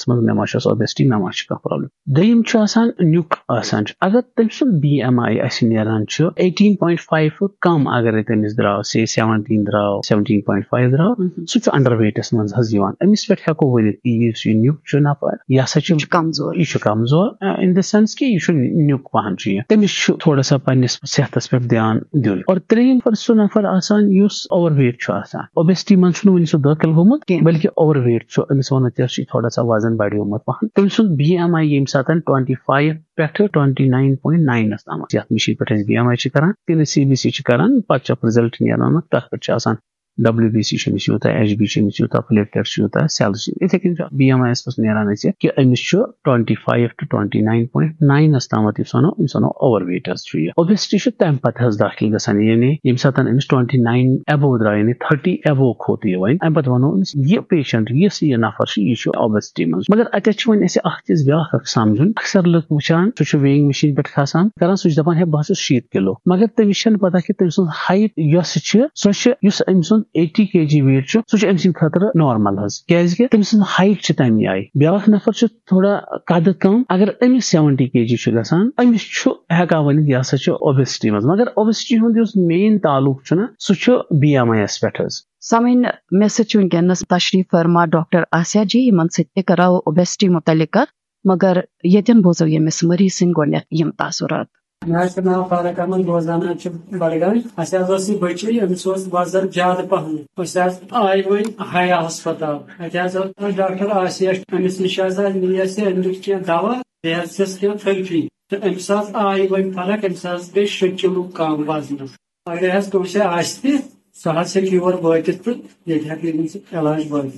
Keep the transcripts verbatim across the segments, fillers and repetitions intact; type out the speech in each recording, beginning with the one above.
منٛز، مےٚ ما چھُس اوبیسٹی، مےٚ ما چھُ کانٛہہ پرابلم۔ دوٚیِم چھُ آسان نیُک آسان چھُ، اگر تٔمۍ سُنٛد بی ایم آی اَسہِ نیران چھُ ایٹیٖن پوینٹ فایو کم، اگرے تٔمِس درٛاو سے سیونٹیٖن درٛاو، سیونٹیٖن پوینٹ فایو درٛاو، سُہ چھُ انڈر ویٹس منٛز حظ یِوان۔ أمِس پٮ۪ٹھ ہٮ۪کو ؤنِتھ کہِ یُس یہِ نیُک چھُ نفر، یہِ ہسا چھُ یہِ چھُ کمزور۔ یہِ چھُ کمزور، in the sense کہِ یہِ چھُ نیُک پہن چھُ یہِ۔ تٔمِس چھُ تھوڑا سا پننِس صحتس پٮ۪ٹھ دھیان دیُن۔ اور ترٛیٚیِم نفر سُہ نفر آسان یُس اوور ویٹ چھُ آسان، اوبیسٹی منٛز چھُنہٕ وُنہِ سُہ دٲخل گوٚمُت کینٛہہ۔ بلکہِ اوور ویٹ چھُ، أمِس وَنو تہِ چھُ تھوڑا سا وزن بڑیومُت پہن۔ تٔمۍ سُنٛد بی ایم آی ییٚمہِ ساتہٕ ٹُوَنٹی فایِو پٮ۪ٹھٕ ٹُوَنٹی ناین پوینٹ ناین تام، یَتھ مِشیٖن پٮ۪ٹھ أسۍ بی ایم آی چھِ کران، کِنہٕ سی بی سی چھِ کران، پتہٕ چھُ اکھ رِزلٹ نیران، تَتھ پٮ۪ٹھ چھُ آسان ڈبلیو بی سی چھُ أمِس یوٗتاہ، ایچ بی چھُ أمِس یوٗتاہ، پلیٹلیٹ چھُ یوٗتاہ، سیلٕز چھِ یوٗتاہ۔ یِتھے کٔنۍ چھُ بی ایم آی یَس منٛز نیران اَسہِ کہِ أمِس چھُ twenty five two twenty nine point ناینَس تامَتھ، یُس وَنو، أمِس وَنو اوور ویٹ حظ چھُ یہِ۔ اوبیسٹی چھُ تَمہِ پتہٕ حظ دٲخِل گژھان، یعنی ییٚمہِ ساتہٕ أمِس ٹُوَنٹی ناین ایبو درٛاو، یعنی تھٔرٹی ایبو کھوٚت یہِ وۄنۍ، اَمہِ پتہٕ وَنو أمِس، یہِ پیشنٹ، یُس یہِ نفر چھُ، یہِ چھُ اوبیسٹی منٛز۔ مگر اَتٮ۪تھ چھُ وۄنۍ اَسہِ اکھ چیٖز بیٛاکھ اکھ سمجھُن۔ اکثر لُکھ وٕچھان، سُہ چھُ ویئنگ مِشیٖن پٮ۪ٹھ کھسان، کران، سُہ چھُ دَپان، "ہے، بہٕ ہسا چھُس شیٖتھ کِلوٗ۔" مگر تٔمِس چھَنہٕ پتہ کہِ تٔمۍ سٕنٛز ہایٹ یۄس چھِ، سۄ چھِ، یُس أمۍ سُنٛد ایٹی کے جی ویٹ چھُ، سُہ چھُ أمۍ سٕنٛدِ خٲطرٕ نارمل حظ، کیازِ کہِ تٔمۍ سٕنٛز ہایٹ چھِ تَمی آیہِ۔ بیٛاکھ نفر چھُ تھوڑا قدٕ کم، اگر أمِس سیونٹی کے جی چھُ گژھان، أمِس چھُ ہٮ۪کان ؤنِتھ، یہِ ہسا چھُ اوبیسٹی منٛز۔ مگر اوبیسٹی ہُنٛد یُس مین تعلق چھُنہ، سُہ چھُ بی ایم آی یَس پٮ۪ٹھ حظ۔ سامعین، مےٚ سۭتۍ چھُ وٕنکیٚنَس تشریٖف فرما ڈاکٹر آسیا جی، یِمن سۭتۍ تہِ کرو اوبیسٹی متعلق کتھ، مگر ییٚتٮ۪ن بوزو ییٚمِس مریض سٕنٛدۍ گۄڈٕنیتھ یِم تاثرات۔ مےٚ حظ چھُ ناو فاروق احمد، روزان حظ چھُ بڈگام۔ اَسہِ حظ اوس یہِ بٔچی، أمِس اوس وزن زیادٕ پہم۔ أسۍ حظ آے وۄنۍ ہیا ہسپتال۔ اَتہِ حظ اوس ڈاکٹر آسیا، أمِس نِش حظ آے، نی اَسہِ، أمۍ دیُت کینٛہہ دوا، بیٚیہِ حظ دِژ کینٛہہ تھرپی۔ تہٕ أمِس حظ آے وۄنۍ فرق، أمِس حظ گٔے شےٚ کِلوٗ کم وزنس۔ اگر حظ کٲنٛسہِ آسہِ تہِ، سُہ حظ ہیٚکہِ یور وٲتِتھ تہٕ ییٚتہِ ہیٚکہِ أمِس علاج بٲوِتھ۔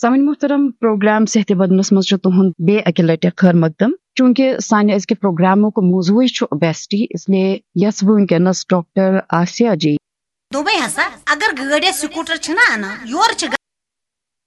سامعین محترم، پروگرام صحت بدنس منٛز چھُ تُہُنٛد بیٚیہِ اَکہِ لٹہِ خٲر مقدم۔ چوٗنٛکہِ سانہِ أزکہِ پروگرامُک موضوعٕے چھُ اوبیسٹی، اس لیے یژھٕ بہٕ وٕنکیٚنس ڈاکٹر آسیا جی۔ دوٚپمَے ہسا، اگر گٲڑۍ یا سکوٹر چھِنہ اَنان، یورٕ چھِ